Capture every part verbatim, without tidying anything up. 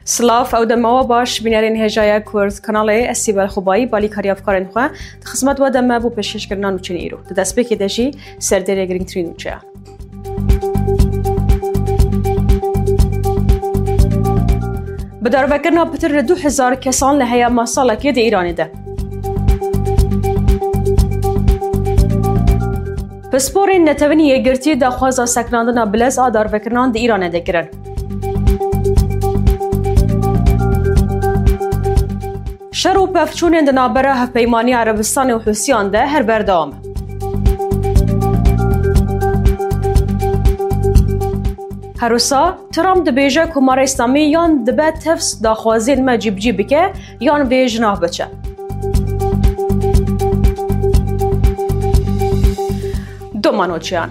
Silav, ew dema we baş, bînerên hêjaya Kurd kanalê, ez Sîbel Xubayî, balîkarî hevkarên xwe, di xizmet we de me bo pêşkêşkirina nûçeyên îro. Di destpêkê de jî serdêrê girîngtirîn nûçeya. Bi darvekirina pitir li du hezar kesan li heyama salekê di Îranê de. Pisporên Netewên Yekgirtî daxwaza sekinandina bilez a darvekirinan di Îranê de kirin. Şer û pevçûnên di navbera Hevpeymaniya Erebistanê û Hûsiyan de her berdewam e. Her wisa Trump dibêje Komara Îslamî yan dibe tefs daxwaziyên me cîbicî bike yan vê ji nav biçe. Domanoçiyan.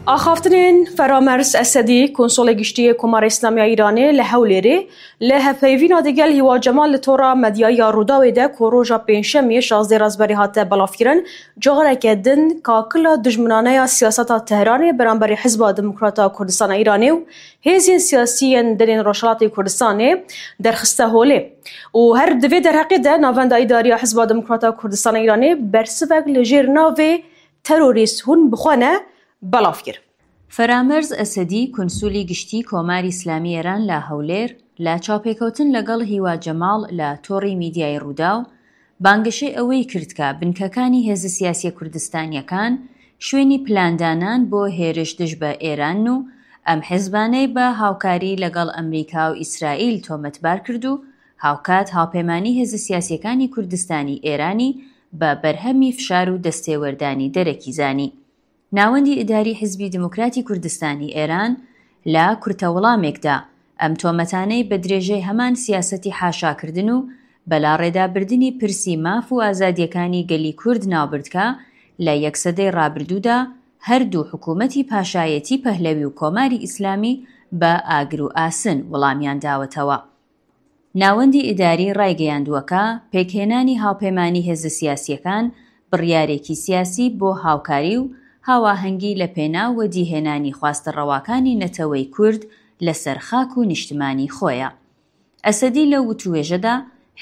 Axaftinên Feramerz Esedî, Konsolê Giştî yê Komara Îslamî ya Îranê li Hewlêrê, li hevpeyvîna digel Hîwa Cemal li tora medyayî ya Rûdawê de ku roja Pêncşemiyê şazdeh Razberî hate belavkirin, careke din kakila dijminane ya siyaseta Tehranê beramberî Hizba Demokrata Kurdistana Îranê û hêzên siyasî yên dinên Rojhelatê Kurdistanê derxiste holê. Û her di vê derheqê de navenda îdarî ya Hizba Demokrata Kurdistana Îranê bersivek li jêr navê terorîst hûn bi xwe ne belav kir. Feramerz Esedî, Konsulî Giştî Komarî Îslamî Êran la Hewlêr, la çapêkotin legel Hîwa Cemal la Torî Mîdyayê Rûdaw, bangişê ewê kir ka binkekani hêzê siyasî Kurdistanîyekan şwênî plandanan bo hêriş dij be Êran û em hizbaney be hawkarî legel Amerîka û Îsraîl tometbar kird û hawkat hawpêmanî hêzê siyasîyekani Kurdistanî Êranî be berhemî fişar û destêwerdanî derekî zanî. Nawendî îdarî Hizbî Demokratî Kurdistanî Êran la kurtewilamêk de em tometaney bi dirêjey heman siyasetî haşa kirdin û belarêdabirdinî pirsî maf û azadîyekanî gelî Kurd navbird ka li yek sedey rabirdû de her du hikûmetî paşayetî Pehlewî û Komarî Îslamî bi agir û asin wilamiyan dawetewa. Nawendî îdarî raygeyandiwe ka pêkhênanî hawpêmanî hêzê siyasîyekan biryarêkî siyasî bo hawkarî û hawahengî li pênaw wedîhênanî xwaste rewakanî netewey Kurd li ser xak û niştimanî xwe ye. Esedî li witûwêje de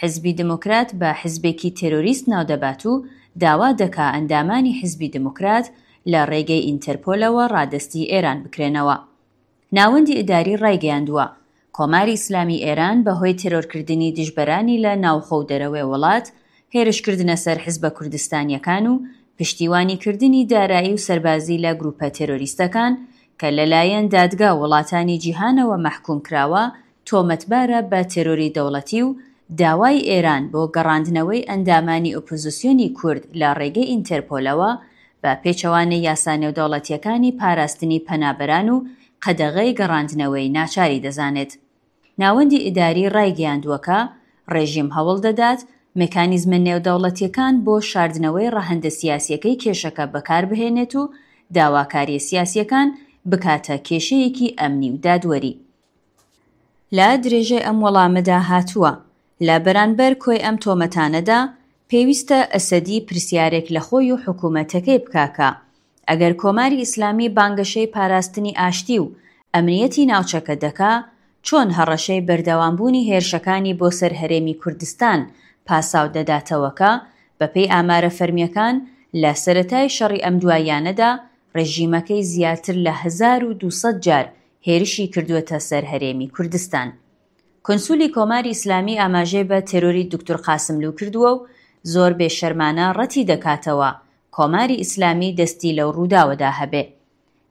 Hizbî Demokrat bi hizbêkî terorîst navdebat û dawa deka endamanî Hizbî Demokrat li rêgey Înterpolewe radestî Êran bikrênewe. Nawendî îdarî raygeyandiwe, Komarî Îslamî Êran bi hoy terorkirdinî dijberanî li navxwe û derewê welat, hêriş kirdine ser hizbe Kurdistanîyekan û piştîwanî kirdinî darayî û serbazî li grûpe terorîstekan ke li layen dadga welatanî cîhanewe mehkûm kirawe, tometbar e bi terorî dewletî û dawayî Êran bo gerandinewey endamanî opozisyonî Kurd li rêgey Înterpolewe, bi pêçewanê yasa nêwdewletîyekanî parastinî penaberan û qedexey gerandinewey naçarî dizanêt. Nawendî îdarî raygeyandiwe ka rejîm hewl dedat mekanîzmên nêwdewletîyekan bo şardinewey rehende siyasîyekey kêşeke bi kar bihênêt û dawakariyê siyasîyekan bikate kêşeyekî emnî û dadwerî. Li dirêjê em welame de hatiwe, li beranber koy em tometane de, pêwîst e Esedî pirsyarêk li xwe û hikûmetekê bika ka eger Komarî Îslamî bangişey parastinî aştî û emniyetî navçeke deka, çon hereşey berdewambûnî hêrişekanî bo ser herêmî Kurdistan pasaw dedatewe ka, bi pey amare fermîyekan, li seretayê şerî emduayiyane de rejîmekey ziyadtir li hezar û du sed car hêrişî kirduwete ser herêmî Kurdistan. Konsulî Komarî Îslamî amajê bi terorî Doktor Qasimlû kirduwe û zor bêşermane retî dekatewe Komarî Îslamî destî lew rûdawe de hebe.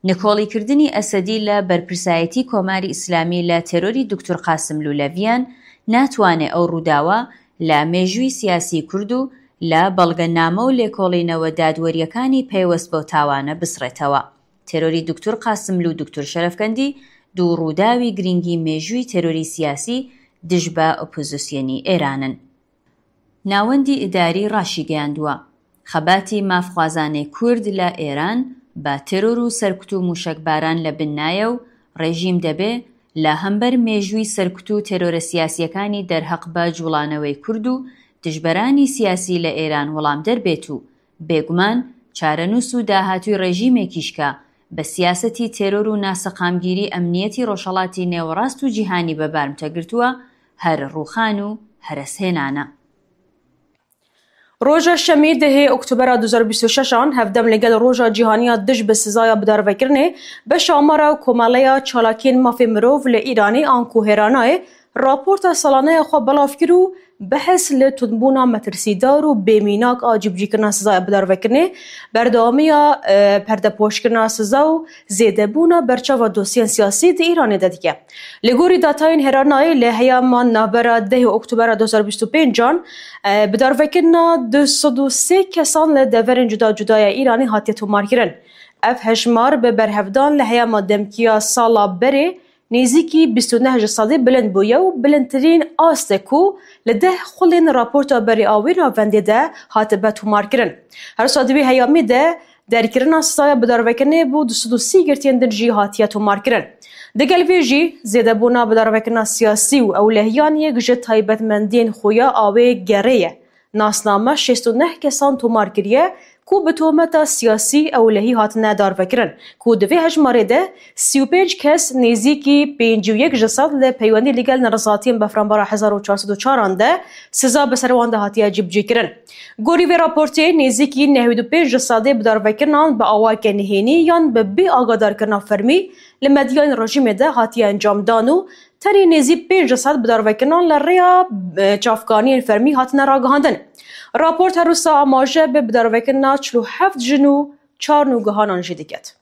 Nikolîkirdinî Esedî li berpirsayetî Komarî Îslamî li terorî Doktor Qasimlû Leviyan natwane ew rûdawe li mêjûyî siyasî Kurd û li belgename û lêkolînewe dadwerîyekanî peywest bo tawane bisrêtewe. Terorî Doktor Qasimlû û Doktor Şerefkendî du rûdawî girîngî mêjûyî terorî siyasî dij be opozisyonî Êran in. Nawendî îdarî raşîgeyandiwe, xebatî mafxwazanê Kurd li Êran bi teror û serkut û mûşekbaran li bin naye û rejîm debe li hember mêjûyî serkut û terore siyasîyekanî derheq bi culanewey Kurd û dijberanî siyasî li Êran welamder bêt û bêguman çarenûs û dahatûyî rejîmekî ji ka bi siyasetî teror û naseqamgîrî emniyetî Rojhelatî Nêwerast û cîhanî bi bar mite girtuwe, here rûxan û here sênan e. Roja Şemî dehê Oktobera du hezar bîst û şeş an hevdem li gel Roja Cîhanî ya Dij bi Sizaya Bidarvekirinê, beşa Amara Komeleya Çalakiyên Mafê Mirov li Îranê anku Hêranayê raporta salane ya xwe belav kir û behs li tundbûna metirsîdar û bêmînak a cîbicîkirina sizaya bidarvekirinê, berdewamiya, e, perdepoşkirina siza û zêdebûna berçava dosyên siyasî di Îranê de dike. Li gorî datayên Hêranayê, li heyama navbera dehê Oktobera du hezar bîst û pênc an, e, bidarvekirina du sed û sê kesan li deverên cuda cuda ya Îranê hatiye tomarkirin. Ev hejmar bi berhevdan li heyama demkî ya sala berê nêzîkî bîst û neh ji sedê bilind bûye û bilindtirîn ast e ku li deh xulên raporta berê a wê navendê de hatibe tomarkirin. Her wisa di wê heyamê de derkirina sizaya bidarvekirinê bo du sed û sî girtiyên din jî hatiye tomarkirin. Digel vê jî, zêdebûna bidarvekirina siyasî û ewlehiyan yek ji taybetmendiyên xuya a wê gerê ye. Nasname şêst û neh kesan tomar kiriye ku bi tometa siyasî ewlehî hatine darvekirin, ku di vê hejmarê de sî û pênc kes, nêzîkî pêncî û yek ji sed, li peywendî li gel nerizatiyên befranbara hezar û çar sed û çar an de siza bi ser wan de hatiye cîbicîkirin. Gorî vê raportê, nêzîkî nehwî û pênc ji sedê bidarvekirinan bi awayeke nihênî yan bi bê agadarkirina fermî li medyayên rejîmê de hatiye encamdan û tenê nêzî pênc ji sed bidarvekirinan li rêya, e, çavkaniyên fermî hatine ragihandin. Raport her wisa amaje bi bidarvekirina çil û heft jin û çar nûgehanan jî diket.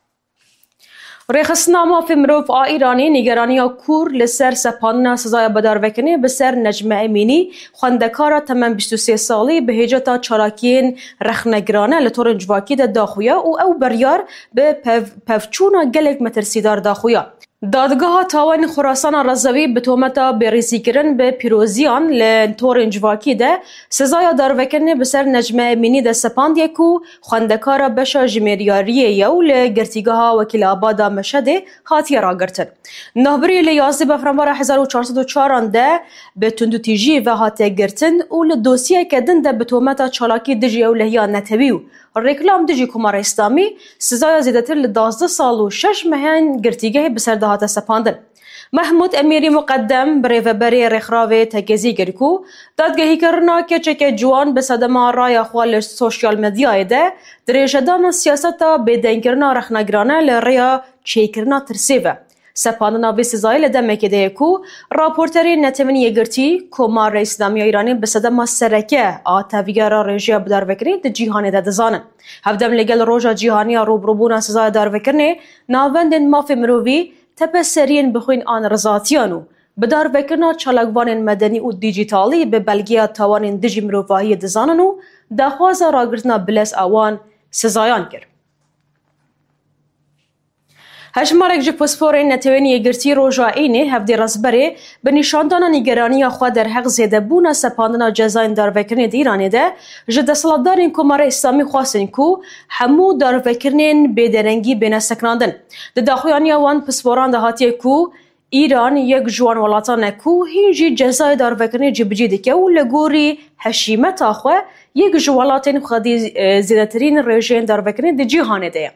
Rêxistina Mafê Mirov a Îranê nîgeraniya kûr li ser sepandina sizaya bidarvekirinê bi ser Necme Emînî, xwendekara temen bîst û sê salî, bi hêceta çalakiyên rexnegirane li torên civakî de daxuya û ew biryar bi pev-, pevçûna gelek metirsîdar daxuya. Dadgeha Tawanên Xorasana Rezewî bi tometa bêrîzîkirin bi pîroziyan li torên civakî de sizaya darvekirinê bi ser Necme Emînî de sepandiye ku xwendekara beşa jimêriyariyê ye û li girtîgeha Wekîlabada Meşedê hatiye ragirtin. Navbirî li yazdeh befranbara hezar û çar sed û çar an de bi tundûtîjiyê ve hatiye girtin û li dosyeyeke din de bi tometa çalakî dijî ewlehiya netewî û rêklam dijî Komara Îslamî, sizaya zêdetir li duwazdeh sal û şeş mehên girtîgehê bi ser de hate sepandin. Mehmûd Emîrî Muqeddem, birêveberê rêxrawê, tekezî kir ku dadgehîkirina keçeke ciwan bi sedema raya xwe li sosyal medyayê de dirêjedana siyaseta bêdengkirina rexnegirane li rêya çêkirina tirsê ve. Sepandina vê sizayê li demekê de ye ku raporterên Netewên Yekgirtî, Komara Îslamî ya Îranê bi sedema sereke a tevgera rêjeya bidarvekirinê di cîhanê de dizanin. Hevdem li gel Roja Cîhanî ya Rûbirûbûna Sizaya Darvekirinê, navendên mafê mirovî, tepeseriyên bixwîn an rizatiyan û bidarvekirina çalakvanên medenî û dîjîtalî bi belgeya tawanên dijî mirovahiyê dizanin û daxwaza ragirtina bilez a wan sizayan kir. Hejmarek ji pisporên Netewên Yekgirtî roja Înê, hevdê Rezberê, bi nîşandana nîgeraniya xwe derheq zêdebûna sepandina cezayên darvekirinê di Îranê de ji desthilatdarên Komara Îslamî xwestin ku hemû darvekirinên bêderengî bêne sekinandin. Di daxuyaniya wan pisporan de hatiye ku Îran yek ji wan welatan e ku hîn jî cezayê darvekirinê cîbicî dike û li gorî heşîmeta xwe yek ji welatên xwedî, e, zêdetirîn rêjeyên darvekirinê di cîhanê de ye.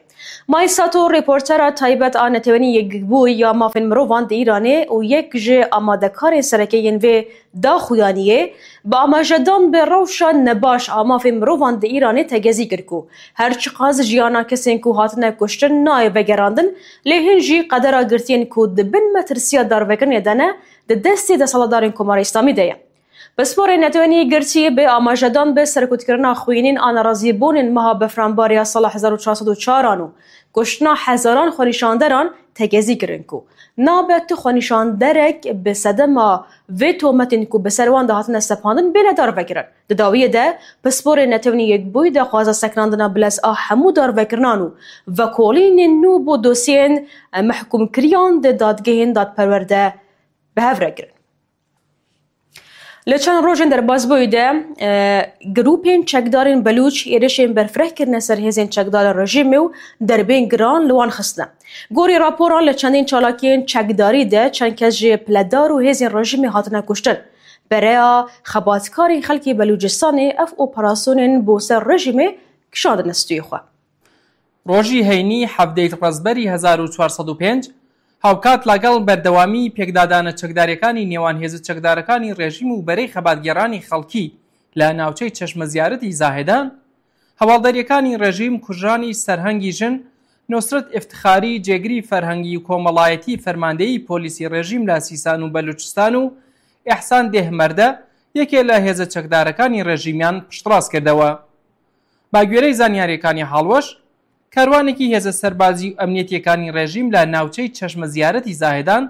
Mai Sato, rêportera taybet a Netewên Yekbûyî ya Mafên Mirovan di Îranê û yek ji amadekarên sereke yên vê daxuyaniyê, bi amajedan bi rewşa nebaş a mafên mirovan di Îranê tegezî kir ku her çiqas jiyana kesên ku hatine kuştin nayê vegerandin, lê hîn jî qedera girtiyên ku di bin metirsiya darvekirinê de ne, di destê desthilatdarên Komara Îslamî de ye. Pisporên Netewên Yekgirtî bi amajedan bi serkutkirina xwînên a nerazîbûnên meha Befranbarê ya sala hezar û çar sed û çar an û kuştina hezaran xwenîşanderan tekezî kirin ku nabe tu xwenîşanderek bi sedema vê tometên ku bi ser wan de hatine sepandin bêne darvekirin. Di dawiyê de, pisporên Netewên Yekbûyî daxwaza sekinandina bilez a hemû darvekirinan û vekolînên nû bo dosyeyên mehkûmkiriyan di dadgehên dadperwer de bi hev re kirin. Li çend rojên derbasbûyî de, e, grûpên çekdarên Belûç êrişên berfireh kirine ser hêzên çekdarên rejîmê û derbên giran li wan xistine. Gorî raporan, li çendên çalakiyên çekdarî de çend kes ji piledar û hêzên rejîmê hatine kuştin. Bereya xebatkarên xelkê Belûcistanê ev operasyonên bo ser rejîmê kişandine stûyê xwe. Rojî heynî, hevdeyî Rezberî hezar û çar sed û pênc, هاوکات لەگەڵ بەردەوامی پێکدادانە چەکدارەکانی نێوان هێزە چەکدارەکانی ڕێژیم و بەرەی خەباتگێڕانی خەڵکی لە ناوچەی چەشمە زیارەتی زاهێدان، هەواڵدەریەکانی ڕێژیم کوژرانی سەرهەنگی ژن، نوسرەت ئفتخاری، جێگری فەرهەنگی و کۆمەڵایەتی فەرماندەیی پۆلیسی ڕێژیم لە سیسان و بەلوچستان و ئیحسان دێهمەردە، یەکێ لە هێزە چەکدارەکانی ڕێژیمیان پشتڕاست کردەوە. بە گوێرەی زانیاریەکانی هاڵوەش، کاروانێکی هێزە سەربازی و ئەمنیەتیەکانی ڕێژیم لە ناوچەی چەشمە زیارەتی زاهێدان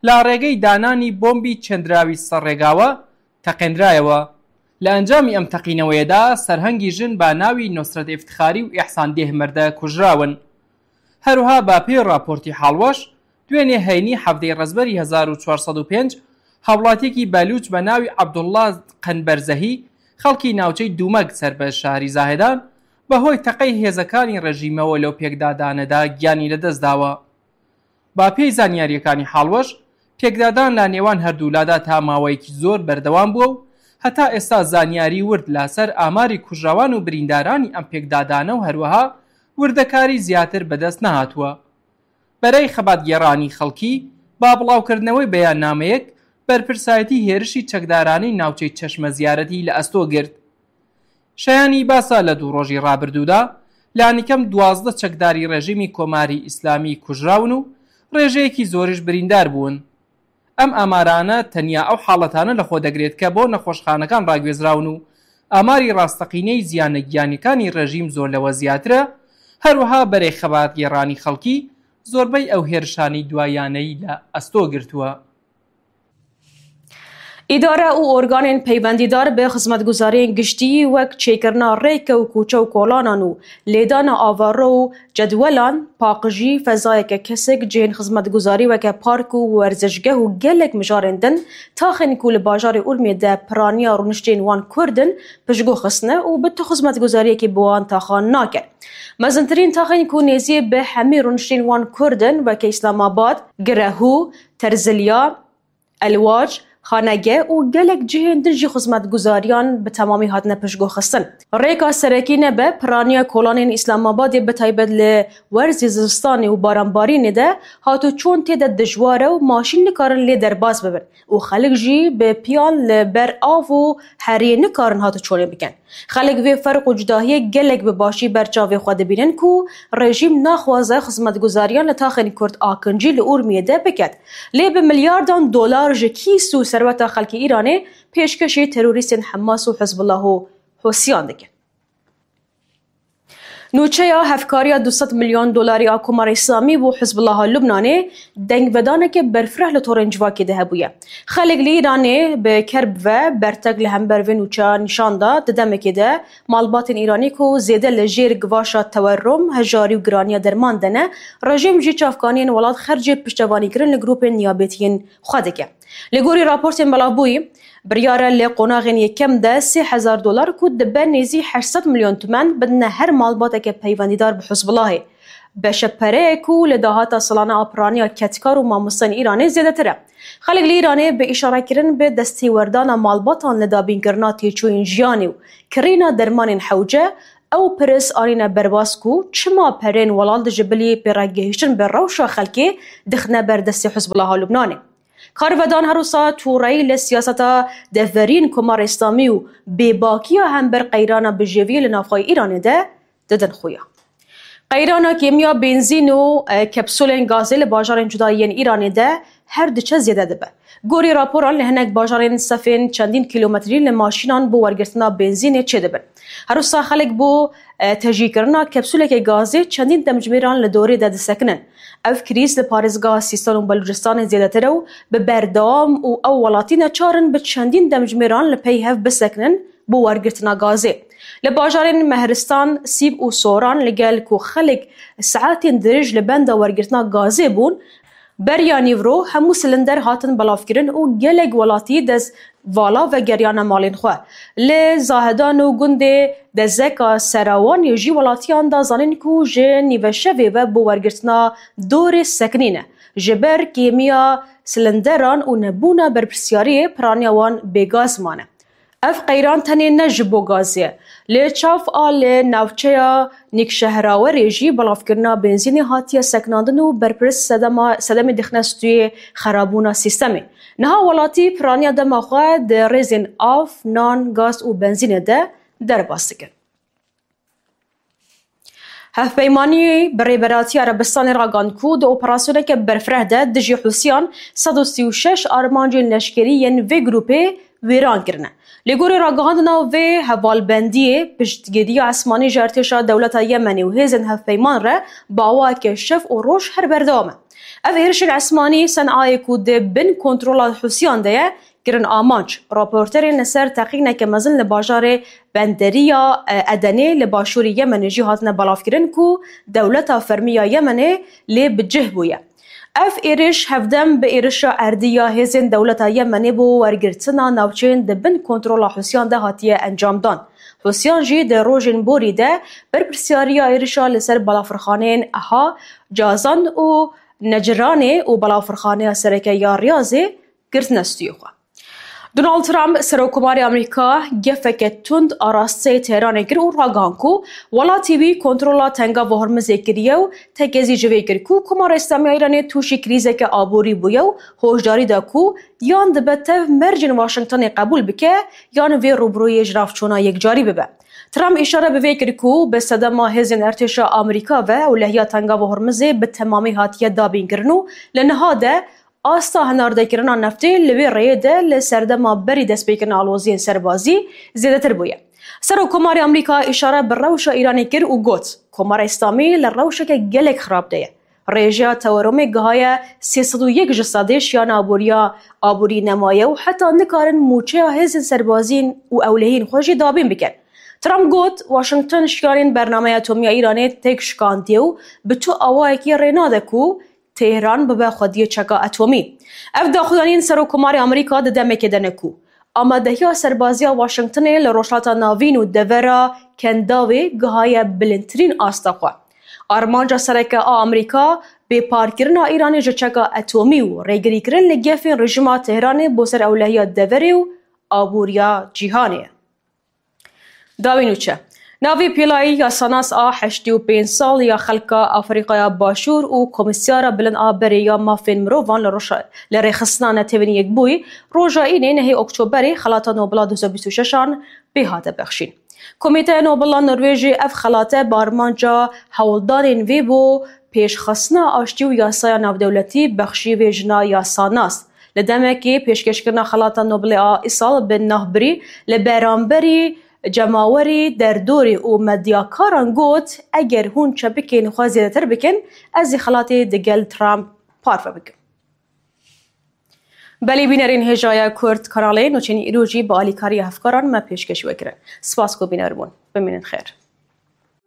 لە ڕێگەی دانانی بۆمبی چێندراوی سەر ڕێگاوە تەقێندرایەوە. لە ئەنجامی ئەم تەقینەوەیەدا سەرهەنگی ژن بە ناوی نوسرەت ئفتخاری و ئیحسان دێهمەردە کوژراون. هەروها بە پێی راپۆرتی حاڵوەش، دوێنێ هەینی حەڤدەی ڕەزبەری هەزار و چوارسەد و پێنج، هاوڵاتیەکی بەلوچ بە ناوی عەبدوڵڵا قەنبەرزەهی، خەڵکی ناوچەی دوومەک سەر بە شاری زاهێدان، بەهۆی تەقەی هێزەکانی ڕێژیمەوە لەو پێکدادانەدا گیانی لەدەستداوە. با پێی زانیاریەکانی حاڵوەش، پێکدادان لە نێوان هەردوولادا تا ماوەیەکی زۆر بەردەوام بووە و هەتا ئێستا زانیاری ورد لەسەر ئاماری کوژراوان و بریندارانی ئەم پێکدادانە و هەروەها وردەکاری زیاتر بەدەست نەهاتووە. بەرەی خەباتگێڕانی خەڵکی با بڵاوکردنەوەی بەیاننامەیەک بەرپرسایەتی هێرشی چەکدارانی ناوچەی چەشمە زیارەتی لە ئەستۆ گرت. شایانی باسە، لە دوو ڕۆژی ڕابردوودا لانیکەم دوازدە چەکداری ڕێژیمی کۆماری ئیسلامی کوژراون و ڕێژەیەکی زۆریش بریندار بوون. ئەم ئامارانە تەنیا ئەو حاڵەتانە لەخۆ دەگرێت کە بۆ نەخۆشخانەکان ڕاگوێزراون و ئاماری ڕاستەقینەی زیانە گیانیەکانی ڕێژیم زۆر لەوە زیاترە. هەروەها بەرەی خەباتگێڕانی خەڵکی زۆربەی ئەو هێرشانی دوایانەی لە ئەستۆ گرتووە. ئیدارە و ئۆرگانên peywendîdar bi xizmetguzariyên giştî wek çêkirina rêke û koçe û kolanan û lêdana avaro û cedwelan, paqijî, fezayeke kesik, cihên xizmetguzarî weke park û werzişgeh û gelek mijarên din, taxên ku li bajarê Urmiyê de piraniya rûniştên wan Kurd in, piştguh xistine û bi tu xizmetguzariyekê bi wan taxan nake. Mezintirîn taxên ku nêzî bi hemî rûniştên wan Kurd in, weke Îslamabad, Girehû, Terzilya, Elwac, Xanege û gelek cihên din jî xizmetguzariyan bi temamî hatine piştguhxistin. Rêka serekî nebe piraniya kolanên Îslamabadê, bi taybet li werzê zivistanê û baranbarînê de hatûçûn tê de dijwar e û maşîn nikarin lê derbas bibin û xelk jî bi piyan li ber av û heriyê nikarin hatûçûnê bikin. Xelk vê ferq û cudahiyê gelek bi başî ber çavê xwe dibînin ku rejîm naxwaze xizmetguzariyan li taxên Kurd akincî li Urmiyê de biket. Lê bi milyardan dolar ji kîs û serweta xelkê Îranê pêşkêşî terorîstên Hemas û Hizbullah û Hûsiyan dikin. Nûçeya hevkariya du sed milyon dolarî a Komara Îslamî bo Hizbullaha Lubnanê dengvedaneke berfireh li torên civakê de hebûye. Xelk li Îranê bi kerb ve bertek li hember vê nûçeya nîşan da, di demekê de malbatên Îranî ku zêde li jêr givaşa tewerrum, hejarî û giraniya derman de ne, rejîm jî çavkaniyên welat xercê piştevanîkirin li grûpên niyabetiyên xwe dike. Li gorî raportên belavbûyî, biryar e li qonaxên yekem de sê hezar dolar ku dibe nêzî heşt sed milyon tûmen bidine her malbateke peywendîdar bi Hizbulahê. Beşe pereyê ku li dahata salane a piraniya kedkar û mamosteyên Îranê zêdetir e. Xelk li Îranê bi îşarekirin bi destêwerdana malbatan li dabînkirina têçûyên jiyanê û kirîna dermanên hewce, ew pirs anîne berbas ku çima perên welat ji bilî pêregihiştin bi rewşa xelkê dixine ber destê Hizbulaha Lubnanê. Karvedan her wisa tûreyî li siyaseta deverîn Komara Îslamî û bêbakiya hember qeyrana bijêviyê li navxweyê Îranê de didin xuya. Qeyrana kêmiya benzîn û, e, kepsûlên gazê li bajarên cuda yên Îranê de her diçe zêde dibe. Gorî raporan li hinek bajarên sefên çendîn kîlometrî li maşînan bo wergirtina benzînê çêdibin. Her wisa xelk bo, e, tejîkirina kepsûleke gazê çendîn demjimêran li dorê de disekinin. Ev krîz li parêzgeha Sîstan û Belûcistanê zêdetir e û bi berdewam û ew welatî neçar in bi çendîn demjimêran li pey hev bisekinin bo wergirtina gazê. Li bajarên Mehristan, Sîb û Soran li gel ku xelk saetên dirêj li benda wergirtina gazê bûn, beriya nîvro hemû silinder hatin belavkirin û gelek welatî dest vala vegeriyane malên xwe. Li Zahedan û gundê Dezeka Serawanê jî welatiyan da zanîn ku ji nîveşevê ve bo wergirtina dorê sekinîne. Ji ber kêmiya silinderan û nebûna berpirsyariyê piraniya wan bêgaz mane. Ev qeyran tenê ne ji bo gazê ye. Li Çaf a li navçeya Nîkşehrawerê jî belavkirina benzînê hatiye sekinandin û berpirs sedema, sedemê dixine stûyê xerabûna sîstemê. Niha welatî piraniya dema xwe di rêzên av, nan, gaz û benzînê de derbas dikin. Hevpeymanî bi Rêberatiya Erebistanê ragihand ku di operasyoneke berfireh de dijî Hûsiyan sed û sî û şeş armancên leşkerî yên vê grûpê wêran kirine. Lê gorî ragihandina vê hevalbendiyê, piştgiriya esmanî ji artêşa dewleta Yemenê û hêzên hevpeyman re bi awayeke şev û roj her berdewam e. Ev êrişên esmanî Senayê ku di bin kontrola Hûsiyan de ye, kirin amanc. Raporterên li ser teqîneke mezin li bajarê benderiya, e, Edenê li başûrê Yemenê jî hatine belavkirin ku dewleta fermî ya Yemenê lê bi cih bûye. Ev êriş hevdem bi êrişa erdî ya hêzên dewleta Yemenê bo wergirtina navçeyên di bin kontrola Hûsiyan de hatiye encamdan. Hûsiyan jî di rojên borî de berpirsyariya êrişa li ser balafirxaneyên Eha, Cazan û Neciranê û balafirxaneya sereke ya Riyazê girtine stûyê xwe. Donald Trump, Serokkomarê Amerîka, gefeke tund arasteyê Tehranê kir û ragihand ku welatê wî kontrola Tengava Hormizê kiriye û tekezî ji vê kir ku Komara Îslamî ya Îranê tûşî krîzeke aborî bûye û hoşdarî da ku yan dibe tev mercên Washingtonê qebûl bike yan vê rûbirûyê ji nav çûna yekcarî bibe. Trump îşare bi vê kir ku bi sedema hêzên artêşa Amerîka ve ewlehiya Tengava Hormizê bi temamî hatiye dabînkirin û li niha de asta hinardekirina neftê li wê rêyê de li serdema berî destpêkirina aloziyên serbazî zêdetir bûye. Serokkomarê Amerîka îşare bi rewşa Îranê kir û got, Komara Îslamî li rewşeke gelek xirab de ye. Rêjeya tewerumê gihaye sê sed û yek ji sedê, şiyana aboriya aborî nemaye û heta nikarin mûçeya hêzên serbazîn û ewlehiyên xwe jî dabîn bikin. Trump got, Washington şiyanên bernameya atomî ya Îranê têk şikandiye û bi tu awayekî rê nade ku Tehran bibe xwediyê çeka atomî. Ev daxuyaniyên Serokkomarê Amerîka di demekê de ne ku amadehiya serbaziya Washingtonê li Rojhilata Navîn û devera Kendavê gihaye bilindtirîn asta xwe. Armanca sereke a Amerîka bêparkirina Îranê ji çeka atomî û rêgirîkirin li gefên rejîma Tehranê bo ser ewlehiya deverê û aboriya cîhanê ye. Dawî nûçe. Navê pêlayî yasanas a heştê û pênc sal ya xelka Afrîqaya Başûr û Komîsyara Bilind a Berê ya Mafên Mirovan li roja, li rêxistina Netewên Yekbûyî roja Înê nehê Oktoberê Xelata Nobela du hezar bîst û şeş an pê hate bexşîn. Komîteya Nobela Norwêjê ev xelate bi armanca hewldanên vê bo pêşxistina aştî û yasaya navdewletî bexşî vê jina yasanas. Li demekê pêşkêşkirina Xelata Nobelê a îsal bi navbirî li beramberî cemawerî, derdorî û medyakaran got, Eger hûn çepikên xwe zêdetir bikin, ez ê xelatê digel Trump parve bikim. Belê bînerên hêjaya Kurd kanalê nûçeyên îro jî bi alîkariya hevkaran me pêşkêş we kirin. Spas ku bîner bûn. Bimînin xêr.